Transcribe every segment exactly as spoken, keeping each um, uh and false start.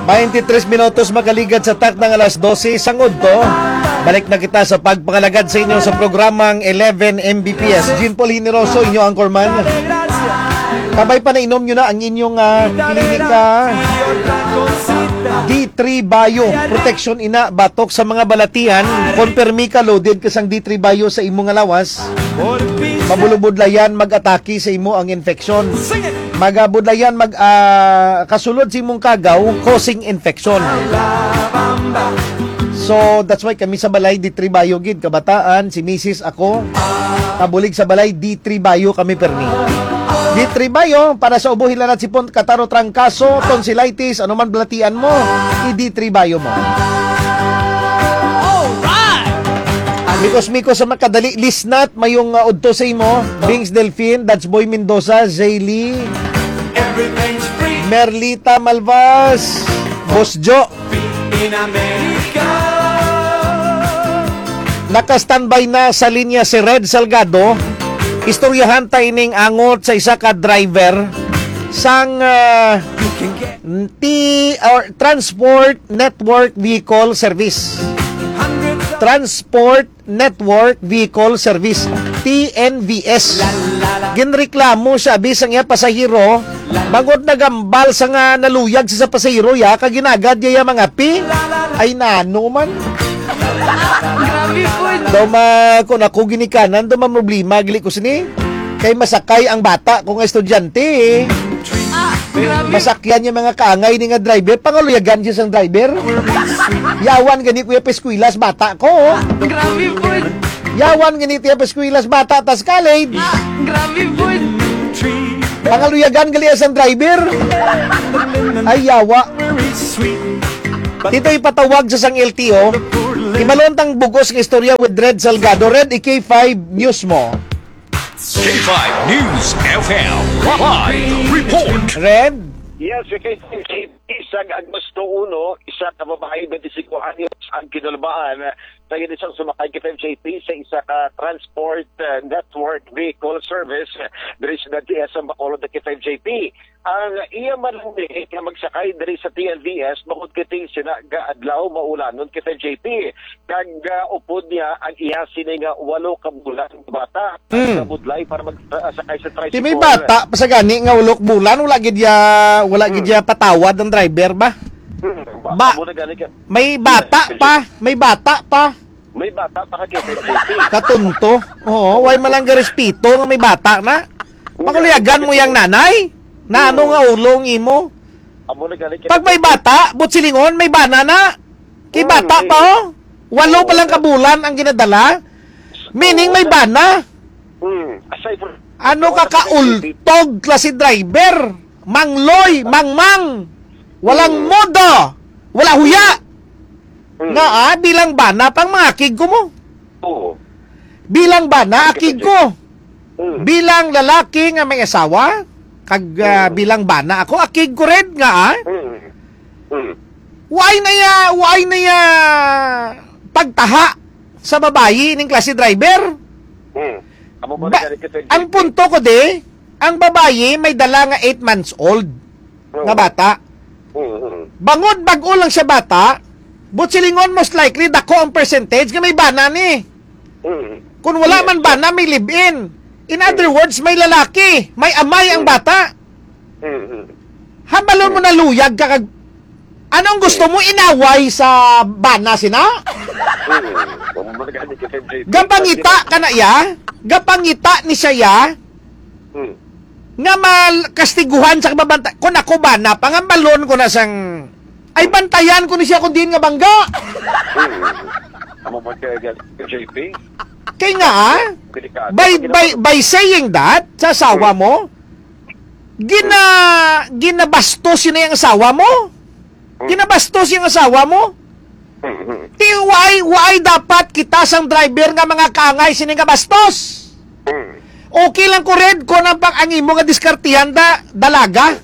Twenty-three minutos makaligad sa takna nga alas dose sang udto. Balik na kita sa pagpangalagad sa inyo sa programang eleven M B P S. Jean Paul Generoso, inyo anchorman. Kabay pa nainom nyo na ang inyong, ah, klinika D three Bio. Protection ina batok sa mga balatian. Kon permi ka loaded ka sang D three Bio sa imo nga lawas, mabulubudlayan mag-atake sa imo ang infection. Magabudlayan mag, ah, kasulod sa imong kagaw, causing infection. So, that's why kami sa balay, D three Bio gid, kabataan, si misis, ako, kabulig sa balay, D three Bio kami permi. D three Bio, para sa ubo, hilanat, sipon, kataro, trangkaso, tonsillitis, anuman balatian mo, i-D three Bio mo. Mikos-mikos sa makadali, lisnat, mayong, ah, udto sa imo, Bings Delfin, Dutch Boy Mendoza, Zaylee, Merlita Malvas, Boss Jo. Naka-standby na sa linya si Red Salgado. Istoryahan ta ining angot sa isa ka driver sang, ah, T or Transport Network Vehicle Service. Transport Network Vehicle Service, T N V S. Ginreklamo siya, abi, sang iya pasahero, bangod nagambal sa nga naluyag sa, sa pasahero, ya, kag ginagad niya ya mga pi. Ay, nano man. Grabe po. Daw ma-, kung ako ginikanan, daw ma-, problema, gili ko sini. Kay masakay ang bata ko nga estudyante, eh. Ah, grabe. Masakyan niya mga kaangay ni nga driver. Pangaluyagan siya sang driver. Yawan gani, kuya, pa eskwela sa bata ko, oh. Grabe po. Yawan gani tiya pa eskwela sa bata, tas college. Ah, grabe po. Pangaluyagan gali sang driver. Ay, yawa. Dito ipatawag sa sang L T O. Imalon tang bugos nga istorya with Red Salgado. Red, i-K five News mo. K five News F M live report. Red? Yes, K five K P, sa Agmosto uno, isa ka babayi, twenty-cinco anyos ang kinulbaan sa isang sumakay, K five J P, sa isa ka transport, uh, network vehicle service, uh, diri sa D S M Bacolod, K five J P. Ang iya man nga magsakay diri sa T N V S, bangod kay ting sina nga adlaw maulanon, K five J P. Kag, ah, upod niya ang iya sini nga walo ka bulan nga bata. Mm. Nabudlay para mag, ah, sakay sa tricycle. Ti may bata pa sa gani nga walo ka bulan, wala gid ya, wala gid Mm. ya patawad ang driver ba? Mm. Ba-, Ba-, amo na gani ka. May bata Mm. pa, may bata pa. May bata pa ka, K five J P. Katunto. Oo, way man lang garespeto nga may bata na. Mm. Pakuliagan mo yang nanay? Na ano Mm. nga ulong imo? Amo na gani ka. Pag may bata, buot silingon, may bana na. Kay Mm, bata mm. pa, oh. Walo Oo, pa lang ka sir. bulan ang ginadala. Meaning Oo, may sir. bana. Mm, aside from Ano ka kaultog, klase driver? Mangloy, mangmang. Walang Mm. modo. Wala huya. Mm. Nga, ah, bilang bana pang mga kig ko mo. Oo. Bilang bana, Ang akig ko. Mm. Bilang lalaki nga may asawa, kag, ah, Mm. bilang bana ako, akig ko rin nga, ah. Mm. Mm. Why na ya, why na ya pagtaha sa babayi ning klase driver? Mm. Amo ba Ba-, nagari ka sa ang G P? punto ko di, ang babayi may dala nga eight months old nga Oo. bata. Mm, mm. Bangod bag-o lang siya bata, buot silingon, most likely, dako ang percentage nga may bana ni. Mm. Kung wala Yes, man sir. bana, may live-in. In other Mm. words, may lalaki, may amay ang Mm. bata. Mm, mm. Hambalon mo Mm. na luyag ka kag, anong gusto Mm. mo, inaway sa bana sina? Mm. Amo ba nagani ka sa G P? Gapangita ka na iya? Gapangita ni siya iya? Mm. Nga mal-, kastiguhan sa kababanta-, kung ako bana, pangambalon ko na sang, ay, bantayan ko ni siya kung diin nga bangga. Mm. Amo ba ka, J P? Kay nga, ah, Delikado. by, Pag by, ginawa- by saying that sa asawa Mm. mo, gina-, ginabastos yun na yung asawa mo. Mm. Ginabastos yung asawa mo. Mm, mm. Ti, why, why dapat kita sang driver nga mga kaangay sini nga bastos? Mm. Okay lang ko red ko nang pag ang imo nga diskartihan da, dalaga.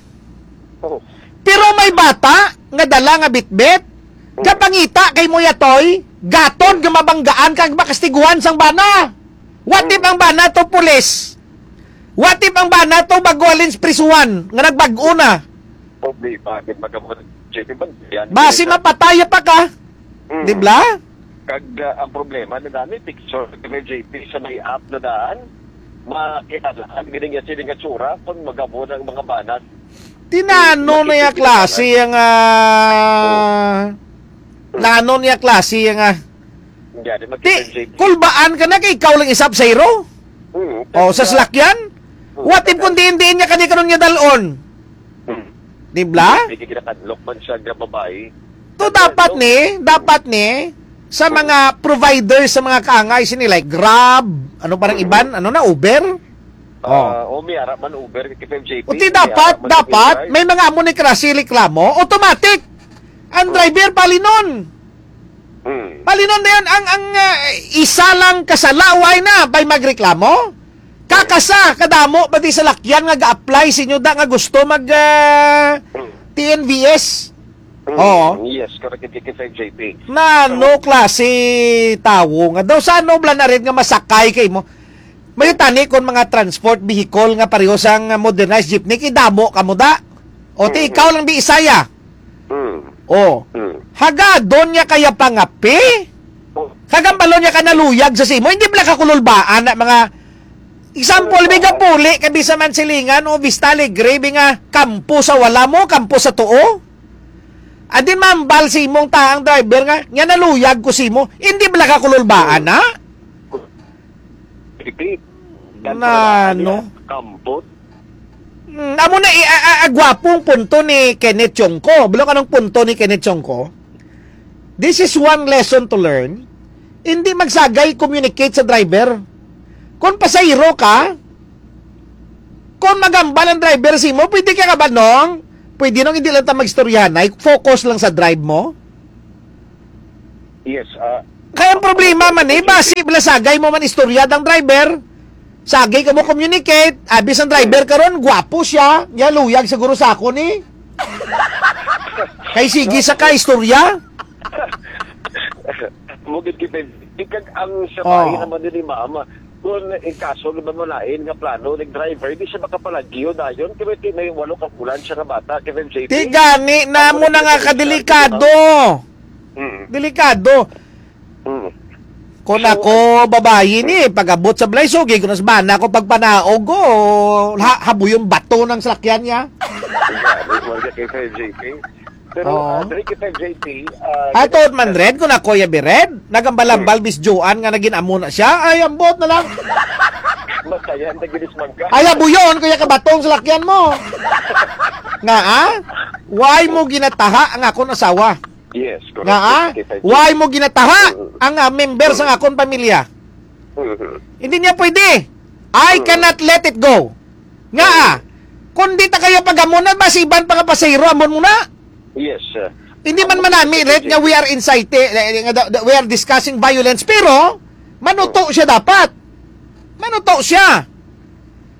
Oh. Pero may bata nga dala nga bitbit, Mm. kapangita kay mo yatoy, gaton nga mabanggaan kag makastiguhan sang bana. What if Mm. ang bana to pulis? What if ang bana to bago halin sa prisuhan nga nagbag-o na? Problema, di ba, kamot? J P, ba, yan, Basi yan. Mapatay pa ka. Mm. Di ba? Kag, ah, ang problema na dami, picture ni J P sa may app na daan, makialahan, gini nga sila nga tsura, kung magabo ng mga banat. Tinano na yung klase yung, ah, nano niya klase yung, ah, Hindi, di, magkita, J P. Kulbaan ka na kay ikaw lang isap sa iro? Mm, O, sa salakyan? Mm. What if kung diin-diin niya kani karon nga dalon? Mm. Di ba? Hindi kinakadlok man siya nga babae. To, dapat ni, dapat ni, sa mga providers, sa mga kaangay, sini like Grab, ano parang iban, ano na, Uber? Ah, o may ara man Uber, K F M J P, O, ti may dapat, ara man dapat, Uber. May mga amo ni klase reklamo, automatic. Ang driver, palinon. Hmm. Palinon na yan, ang, ang, ah, isa lang kasala, why na, bay magreklamo? Kakasa, kadamo, pati sa lakyan nga ga-apply sa inyo, da nga gusto mag, ah, Hmm. T N V S. Hmm. Oo. Yes, correct, K F M J P. Na, So, no klase tawo nga daw, sa ano bala na rin nga masakay kay mo? May tani kon mga transport vehicle nga pareho sang modernized jeepney, kay damo ka mo da. O, ti Mm-hmm. ikaw lang di isaya. Mm. O, Mm. hagadon niya kaya pangapi? Oh. Kagambalon niya ka naluyag sa simo. Hindi bala ka kululbaan na mga example, Kululbaan. May gapuli ka bisa man silingan o Vista Alegre, bi nga kampo sa wala mo, kampo sa tuo. Adin mambal sa imong taang driver nga, nga naluyag ko simo. Hindi bala ka kululbaan, Mm. ha? Repeat. Na, Yan pala, no? Kampot. Hmm, amo na, i-, a, a, a, gwapong punto ni Kenneth Chongco. Balo ka ng punto ni Kenneth Chongco? This is one lesson to learn. Hindi magsagay communicate sa driver. Kung pasahero ka, kung magambal ang driver sa imo, pwede ka kabanong, pwede nung hindi lang ta magstoryahan, ay focus lang sa drive mo. Yes, ah, Kaya ang problema man eh, basi bala sagay mo man istorya dang driver. Sagay ka mo communicate, abis ang driver karon, gwapo siya, niya luyag siguro sa ako ni. Kay sige sa ka istorya. Mugid kita, ikag ang siya Oh. Naman din ni mama. Kung ikaso naman mo lain nga plano ng driver, di siya makapalagyo dayon. Kaya may walo ka bulan siya nga bata, K F M J P. Ti gani na Ang mo na nga mga kadelikado. Mm. Delikado. Mm. Kung So, ako, babayi ni, pag-abot sa balay, sugi ko na sa bana ko, pagpanaog ko, ha, habuyon bato ng salakyan niya. Gani, wala kay K F M J P. Pero, Oo. Ah, diri kay K F M J P, ah, Ato gina- man red, kung ako ya bi red, nagambal-ambal Hmm. Bisjoan nga naging amo na siya, ay, ambot na lang. Masaya ang tagilis mangga. Ay, habuyon, kuya, kabatong salakyan mo. Nga, ah? Why mo ginataha ang akon asawa? Yes, correct. Nga, ah? Yes, K F M J P. Why mo ginataha Mm. ang, ah, member sa Mm. akon pamilya? Mm-hmm. Hindi niya pwede. I Mm. cannot let it go. Nga, Mm. ah? Kung di ta kayo pag-amon na, mas iban pa nga pasahero, amon mo na. Yes, sir. Hindi man Amon manami, ko right, nga we are inciting, eh, nga the, the, we are discussing violence, pero manuto Mm. siya dapat. Manuto siya.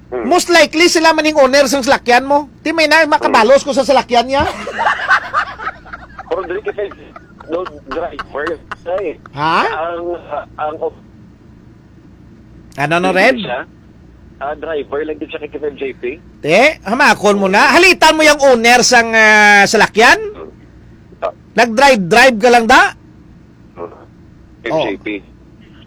Hmm. Most likely, sila man yung owner sang salakyan mo. Di may na, makabalos ko sa salakyan niya. Pero dili kita, no, driver, eh. Ha? Ang, ang, Ano, no, Red? Siya? Ah, driver lang din siya kay K F M J P. Eh, hamakon mo na. Halitan mo yung owner sang, ah, salakyan? Hmm. Ah. Nag-drive-drive ka lang da? Hmm. Oh. M J P.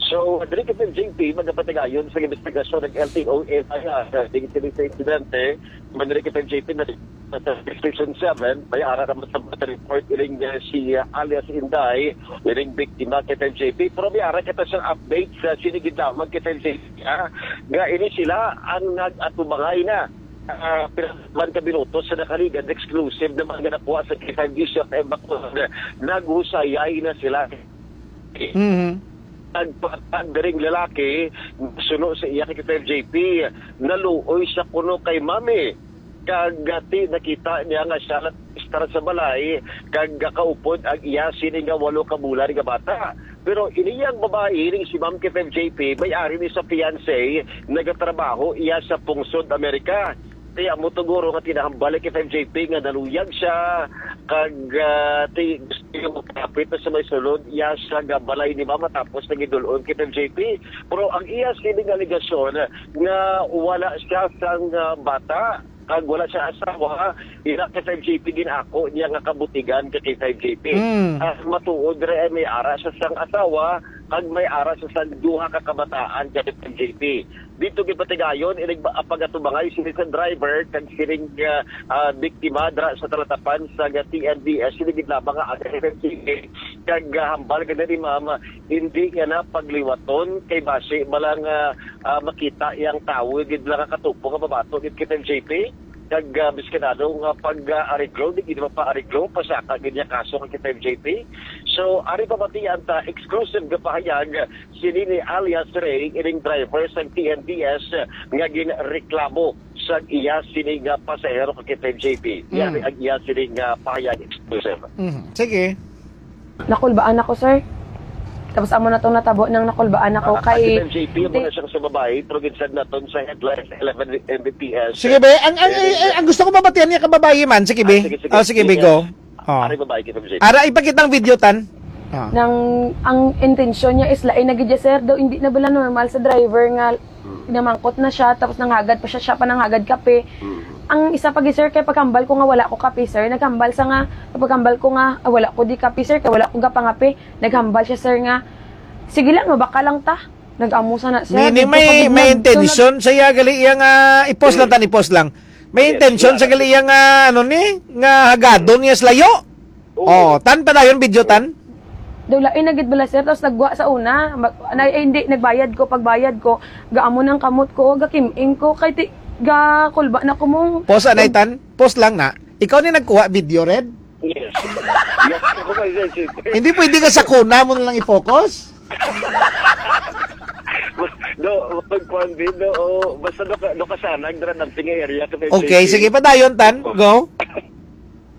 So, diri kay M J P, magapatigayon sa investigasyon ng L T O F I R, ding kini sa insidente, man diri kay M J P na sa Station seven, may ara naman sa mga report ining, eh, si, ah, alias Inday, ining biktima kay M J P. Pero may ara kita sa update sa sinigidamag kay M J P, ha? Nga ini sila ang nag-atubangay na. Ah, pila man ka minuto sa nakaligan, exclusive naman nga nakuha sa K five News F M Bacolod, naghusayay na sila. Mhm. Nagpatag diri ang lalaki, suno sa iya kay K five J P, naluoy siya kuno kay Mami. Kag ti nakita niya nga siya lang estar sa balay, kag kaupod ang iya sini nga walo ka bulan nga bata. Pero ini ang babayi ning si Ma'am K five J P, may ari ni sa fiancé, nagatrabaho iya sa pungsod Amerika. Kaya mo tuguro nga tinahambal ni K five J P nga naluyag siya, kag, ah, ti-, gusto niya magkapit na sa may sulod, iya siya nga balay ni Mama, tapos nagidulon kay K five J P. Pero ang iya sining alegasyon nga wala siya sang, ah, bata, kag wala siya asawa, ina ka five J P, ginako niya nga kabutigan ka kay five J P. Mm. Ah, matuod ra, eh, may ara siya sang asawa, kag may ara siya sang duha ka kabataan ka kay five J P. Dito gipatigayon, inig ba-, ang pag-atubangay sini sa driver kag sining, ah, ah, biktima dira sa talatapan sa T N D S, sini gid lamang nga aga kay five J P. Kag, ah, hambal gid ni ma'am, hindi niya na pagliwaton kay basi bala nga, ah, makita yang tawo gid lang nga katupo nga babato gid kay five J P. Kag, ah, biskadado nga pag, ah, ariglo, di gid mapaareglo, pasaka gid niya kaso kay five J P. So, ari pamatian ta, exclusive nga pahayag sini ni alias Ray, ining driver sang T N T S nga ginreklamo sa iya sini nga pasahero kay five J P. Yari Mm. ang iya sini nga pahayag exclusive. Mhm. Sige. Nakulbaan ako, sir. Tapos amo na tong natabo nang nakulbaan ako Ah, kay si five J P mo di- na siya sa babae, pero ginsad naton sa headline sa eleven M B P S. Sige, be. Ang, ang, Eh, ang, ang gusto ko mabatian niya ka babae man. Sige, be. Ah, sige, sige. Oh, sige, be, Yes. go. Oh. Ari babae kay five J P. Ara, ipakita ang video, tan. Oh. Nang ang intensyon niya is lain na gid, sir. Daw hindi na bala normal sa driver nga namangkot na siya, tapos nanghagad pa siya, siya pa nanghagad kape. Mm. Ang isa pa gid, sir, kay paghambal ko nga wala ko kape, sir, naghambal sa nga, paghambal ko nga, "Ah, wala ko di kape, sir, kay wala ko gapangape." Naghambal siya, sir, nga, "Sige lang, mabaka lang ta." Nag-amo sa na, sir. Meaning Dito may, pa gid may nag-, intention sa iya, gali iya nga, i-pause lang, tan, i-pause lang. May Yes, intention sa yeah. gali iya nga, ano ni, nga hagadon niya sa layo. Oo. Oh, tan padayon video, tan. Daw lain na gid bala, sir, tapos nagwa sa una. Ma-, na, eh, hindi, nagbayad ko. Pagbayad ko, gaamon ang kamot ko, gakim-ing ko, kay ti-, gakulba na ko mo. Pause, anay, tan. Pause lang na. Ikaw ni nagkuha video, Red? Yes. Yes, ako kay Red, sir. Hindi pwede ka sa kuna mo na lang i-focus? Do, pag kuwan din, do, oh, basta do ka, do ka sana, ang dara ng area ka may Okay, sige, padayon, tan. Go.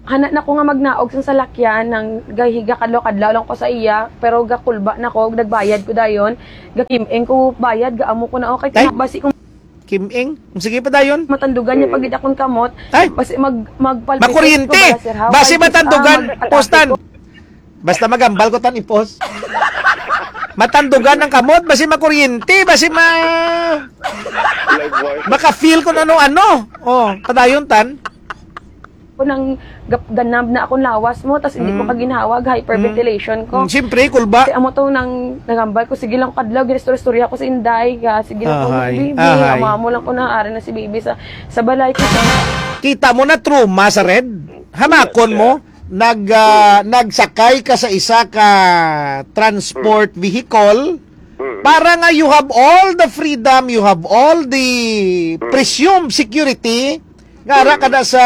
Hana na ko nga magnaog sang salakyan, nang gahiga kadlaw-kadlaw lang ko sa iya, pero gakulba na ko, nagbayad ko dayon, gakim-ing ko bayad, gaamo ko na, okay, Tay? Basi kung Kim-ing? Sige, padayon. Matandugan niya pag akong kamot, Ay! Basi mag-, magpalpitate Makuryente! ko bala, sir, ha? Basi Ay, matandugan, ah, mag-atake postan. ko. Basta magambal ko tan ipos. Matandugan ang kamot, basi makuryente, basi ma-, Live wire. maka-feel ko na ano-ano. Oh, padayon, tan. Ko nang gap-, ganab na akong lawas mo, tas hindi ko Mm. kaginhawag, hyperventilation ko. Mm, siyempre, kulba. Kasi amo to nang nagambal ko, sige lang kadlaw, ginistorya-storya ko si Inday, ga, sige lang ko, Ahay, "Baby, ahay. Amo, amo lang ko na, ari na si baby sa, sa balay ko." Kita mo na trauma sa Red? Hamakon Yes, mo, sir. nag, ah, nagsakay ka sa isa ka transport Mm. vehicle Mm. para nga you have all the freedom, you have all the Mm. presumed security, nga ara Mm. ka na sa,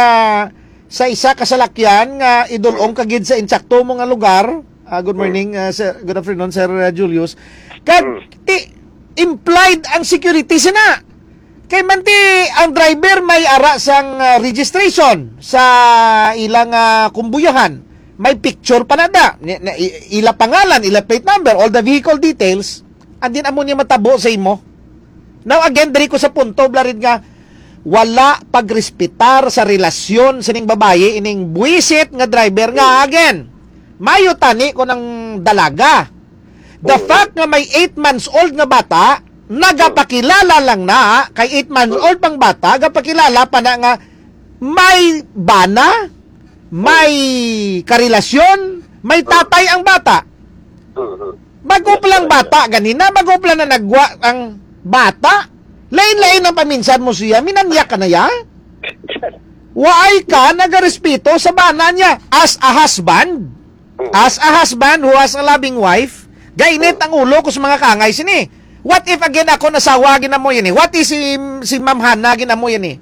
sa isa ka salakyan nga idulong ka gid sa insakto mo nga lugar. Ah, good Mm. morning, ah, sir. Good afternoon, Sir, ah, Julius. Kag Mm. ti-, implied ang security sina. Kay man ti ang driver may ara sang, ah, registration sa ilang, ah, kumbuyahan. May picture pa na da. Ni-, na-, i-, ila pangalan, ila plate number, all the vehicle details. And then amo ni matabo sa imo. Now again, diri ko sa punto, Blarid, nga wala pagrespetar sa relasyon sining babayi, ining buwisit nga driver nga, again, mayo tani ko ng dalaga. The Oo. fact nga may eight months old nga bata, nagapakilala lang na, kay eight months Oo. old pang bata, gapakilala pa na nga may bana, may Oo. karelasyon, may Oo. tatay ang bata. Oo. Bago pa lang bata, ganina, bago pa lang na nagwa ang bata. Lain-lain ang paminsan mo siya, minanyak ka na ya? Waay ka nagarespeto sa bana niya as a husband? As a husband who has a loving wife, gainit ang ulo ko sa mga kangay sini. What if again ako nasawa ginamo yan eh? What if si, si Ma'am Hana ginamo yan eh?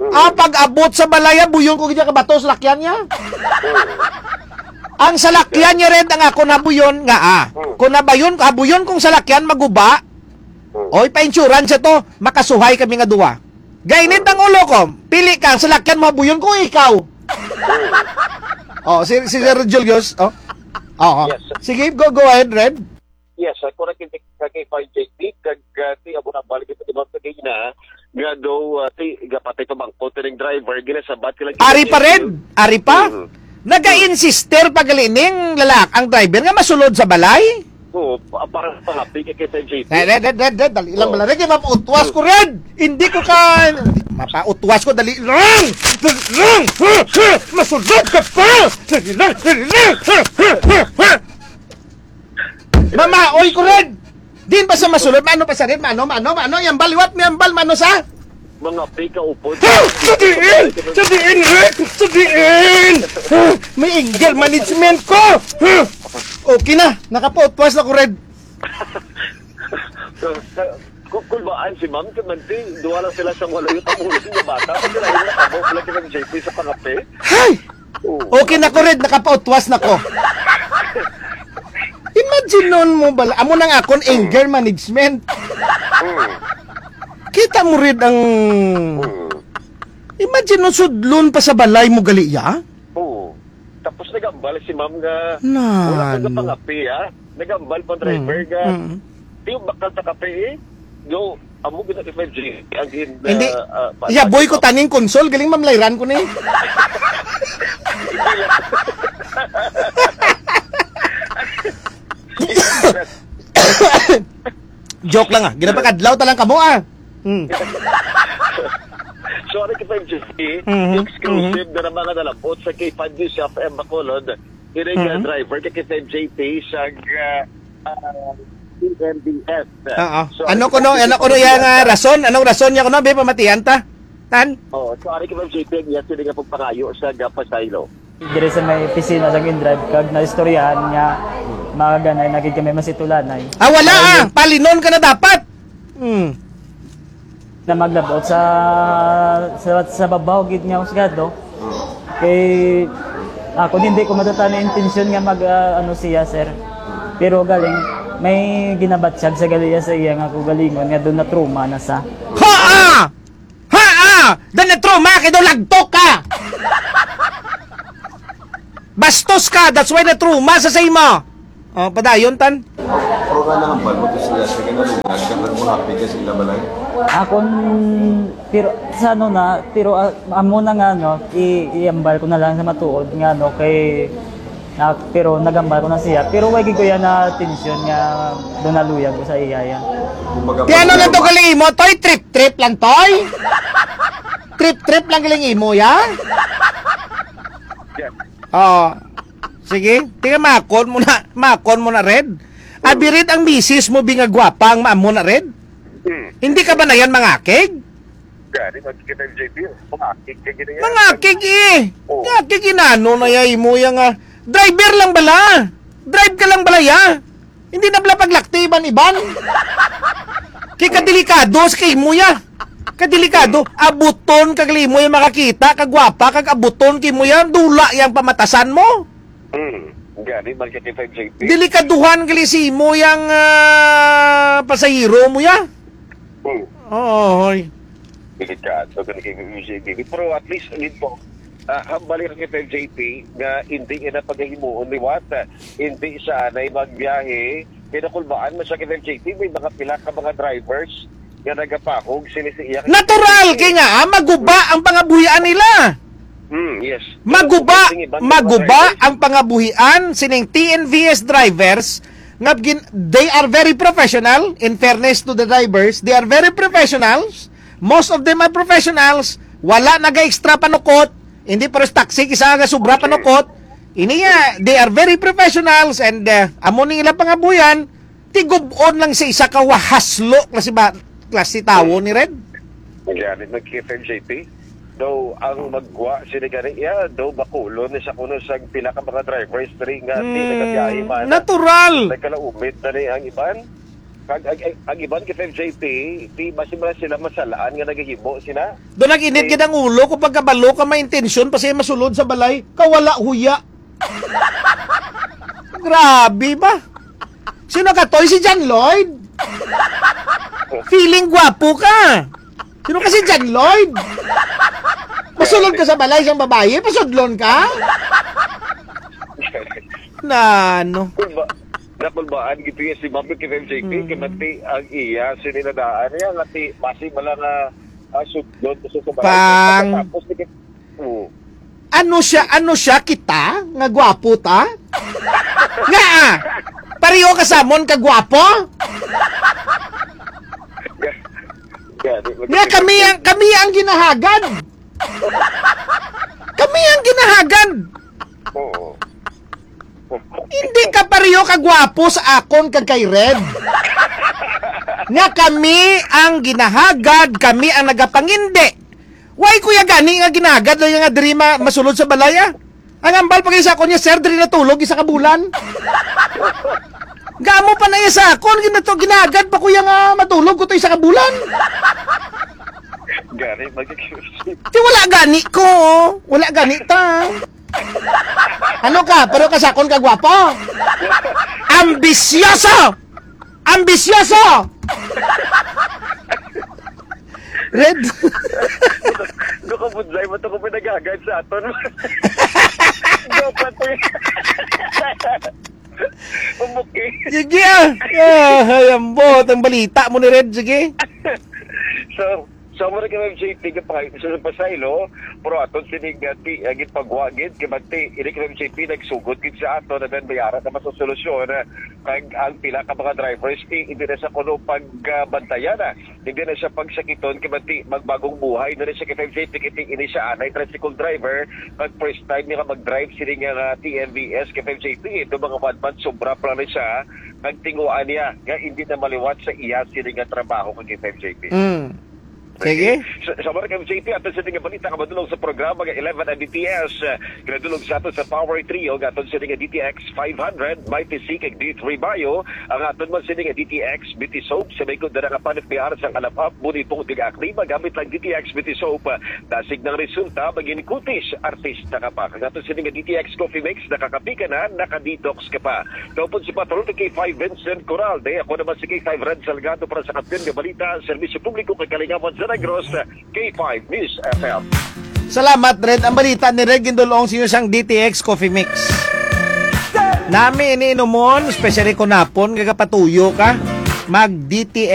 Mm. Ang pag-abot sa balay, buyon ko gid ka bato sa lakyan niya. Mm. Ang salakyan niya rin ang ako nabuyon nga, ah. Mm. Kung nabayon, habuyon kong salakyan, maguba. Mm. Oy, pa-insurance to, makasuhay kami nga duwa. Gainit ang ulo ko, pili ka, ang salakyan mo, habuyon ko, ikaw. Mm. Oh, si, si Sir Julius, oh. Oo. Yes, sir. Sige, go, go ahead, Red. Yes, sir. Correct, yung kay five J P, kag, ah, ti, abo na balik ito, diba, kagina, nga daw, ah, ti, gapatay pa bangko, tining driver, ginasabat, kila Ari pa, Red? Ari pa? Mhm. Nag-a-insister pa gali ning lalak-, ang driver nga masulod sa balay? Oo, pa-, para sa happy kay K five J P. Red, red, red, red, red, dali lang. Oo. Bala, Red, mapautwas ko, Red! Hindi ko ka, mapautwas ko, dali lang! Dali lang! Masulod ka pa! Dali lang, dali lang! Mamaoy ko, Red! Din pa sa masulod, mano pa sa Red, mano, mano, mano, yambal, liwat, miyambal, mano sa? Mga pika upod. Ha! Sa diin! Sa diin, Red! Sa diin! Ha! May anger management ko! Ha! Okay na, nakapautwas na ko, Red. Kul-, kulbaan si ma'am, kay manti, duha lang sila sa wala yung tamulan nga bata. Pati na yung nakabo, wala ka ng J P sa pangape. Hay! Oo. Okay na ko, Red, nakapautwas na ko. Imagine nun mo bala, amo nang akon anger management. Mm. Kita mo, Red, ang Mm. imagine nun sudlon pa sa balay mo gali, ya? Oo. Tapos nagambal si ma'am nga Na, wala ko na no. pangapi, ha? Nagambal pa driver Mm, nga, mm. "Di yung bakal ta kape, eh." Yo, amo gid ang F F G, ang gin-, Hindi. ah, ah, pa-, Iya, boy ko pa-, taning konsol, galing mamlayran ko ni. Joke lang, ah. Ginapakadlaw ta lang kamo, ah. Hmm. So, ano kita yung G C? Mhm, Exclusive mhm. na naman nga nalabot sa K five News F M Bacolod. Kini nga Mhm. driver kay K five J P sa, ah, ah, P N B S. Oo. So, Ano ano kuno, kita ano kuno yung, ah, rason? Anong rason niya kuno, be, pamatian ta? Tan? Oo, so, ari kay K five J P ang iya sila nga pagpangayo sa Gapasaylo. Diri sa may opisina sa Green Drive, kag naistoryahan nga mga ganay, nakig kami masitulanay. Ah, wala, Ay, ah. Palinon ka na dapat. Hmm. Na maglabot sa, sa, sa babaw gid nga husgado. Kay ako, hindi ko matatan ang intensyon nga mag, ah, ano siya, sir. Pero galing, may ginabatyag sa galiya sa iya nga kugalingon nga doon na trauma na sa. Ha! Ha! Ah! Doon na trauma kay doon lagtok ka! Bastos ka, that's why na trauma sa sa imo. Oh, padayon, tan. Pero nga nahambal mo to sila sa kinalungan, kag nagmahapit ka sa ila balay? Akon, pero sa ano na, pero, ah, amo na nga, no, i-, iambal ko na lang sa matuod nga, no, kay, ah, pero nagambal ko na siya. Pero way gid ko yan na atensyon nga doon naluyag ko sa iya, ya. Kumbaga, Ti ano lang to pag- galing imo, toy? Trip-trip lang, toy? Trip-trip lang galing imo, ya? Yeah. Oh. Sige, tingnan, makon mo na, makon mo na, Red. Hmm. Abi, Red, ang misis mo, bi nga gwapa, ang maamo na, Red? Hmm. Hindi ka ba na yan mangakig? Gani, magkikita yung J P, mangakig ka gini yan. Mangakig, eh. Oh. Mangakig, inano na ya, imo ya nga. Driver lang bala. Drive ka lang bala, ya. Hindi na bala paglakti iban-iban. Kay kadelikado sa kay imo ya. Kadelikado. Abuton kag limo ya makakita, kagwapa, kag abuton kay imo ya. Dula yang pamatasan mo. Hmm. Gani, magkikita yung J P. Delikaduhan gali si imo yang, ah, pasahero mo ya. Hmm. Oo, hoy. Delikado gani kay J P. Pero at least, dito, ah, hambali ra kita, J P, nga hindi ina pagahimuon liwat, ah, hindi siya anay magbiyahe. Kaya nakulbaan mo siya kita, J P, may mga pila ka mga drivers nga nagapahog sila sa iya. Natural, kay nga, ah, maguba ang pangabuhian nila. Hmm, yes. Maguba, Sing iban nga mga maguba drivers. Ang pangabuhian sining T N V S drivers nga gin-, they are very professional, in fairness to the drivers, they are very professionals. Most of them are professionals. Wala naga-extra panukot. Hindi pares taxi, kisa nga sobra Okay. panukot. Ini nga, they are very professionals and, uh, amo ning ilang pangabuhian, tigub-on lang sa isa ka wahaslo klase ba, klase tawo ni Red. Gani, nagkita yung J P. Daw, ang magwa sila gani, ya, daw bakulon ni sa kuno sa pila ka mga drivers diri nga di Hmm, nagabiyahe man. Natural. Nagkalaumit na ni ang iban. Kag, ag, ag, ang iban kita, J P, di ba sila, sila masalaan nga nagahimo sila? Doon nag-init Eh. gid ang ulo ko pagkabalo ka may intensyon pa siya masulod sa balay. Kawala huya. Grabe ba? Sino ka, Toy? Si John Lloyd? Feeling gwapo ka. Sino ka, si John Lloyd? Masulod ka sa balay sang babayi? Pasudlon ka? Na ano? Kulba, nakulbaan gito yung si Mami kay J P, Hmm. kay Mati ang iya, sininadaan niya, nga ti, basi bala nga, ah, sudlon ko sa balay. Pang- Tapos, Oo. Ano siya, ano siya kita? Nga gwapo ta? Nga, ah! Pareho ka sa amon ka gwapo? Nga kami ang, kami ang ginahagad. Kami ang ginahagad. Oo. Hindi ka pareho ka gwapo sa akon kag kay Red. Nga kami ang ginahagad, kami ang nagapangindi. Why kuya gani nga ginahagad lang nga diri ma-, masulod sa balay, ah? Ang ambal pa kay sa akon niya, "Sir, diri natulog isa ka bulan." Gamo pa na iya sa akon, ginato-, ginagad pa ko iya nga matulog ko to isa ka bulan. Gani, magiging Ti wala gani ko, oh. Wala gani ta. Ano ka? Pero ka sa akon ka gwapo? Ambisyoso! Ambisyoso! Red. Nakabudlay mo to kung pinagagad sa aton. Dapat eh. Pumuki. Sige, ah. Ah, ay, ambot ang balita mo ni Red, sige. So, so, mo na kay Ma'am J P, kapag sa pasaylo, pero aton sini nga ti, ang ipagwagid, kay magti, ini kay Ma'am J P, nagsugod gid sa ato, na dan bayara na mas solusyon, ah, kag ang pila ka mga drivers, ti, hindi na sa kuno pagbantayan, ah. Hindi na siya pagsakiton, kay magti, magbagong buhay na rin siya kay Ma'am J P, kay ti, ini siya, anay tricycle driver, pag first time niya nga mag-drive, sini nga, nga T M V S, kay Ma'am J P, ito mga one month, sobra pa lang siya, nagtinguan niya, nga hindi na maliwat sa iya, sini nga trabaho, kay Ma'am J P. Mm. Sige. Sa, sa mga ka-M J P, ato sa nga balita nga madulong sa programa nga eleven M B T S, eh, ginadulong sa ato sa Power Trio, nga aton sa nga D T X five hundred, Mighty C kag D three Bio, ang aton man sa nga D T X Beauty Soap, sa may kundara nga panit may aras ang alapap, buni po kag acne, magamit lang D T X Beauty Soap, ah, dasig ng resulta, maging kutis, artista ka pa. Ang aton sa nga D T X Coffee Mix, nakakapi ka na, naka-detox ka pa. Daw po si Patrol ni K five Vincent Coralde. Ako naman si K five Red Salgado para sa Kampiyon nga Balita, Serbisyo Publiko kag Kalingawan sa Negros, K five News F M. Salamat, Red. Ang balita ni Red gindulong sa inyo sang D T X Coffee Mix. Nami ini inumon, especially kung napon, gagapatuyo ka. Mag D T X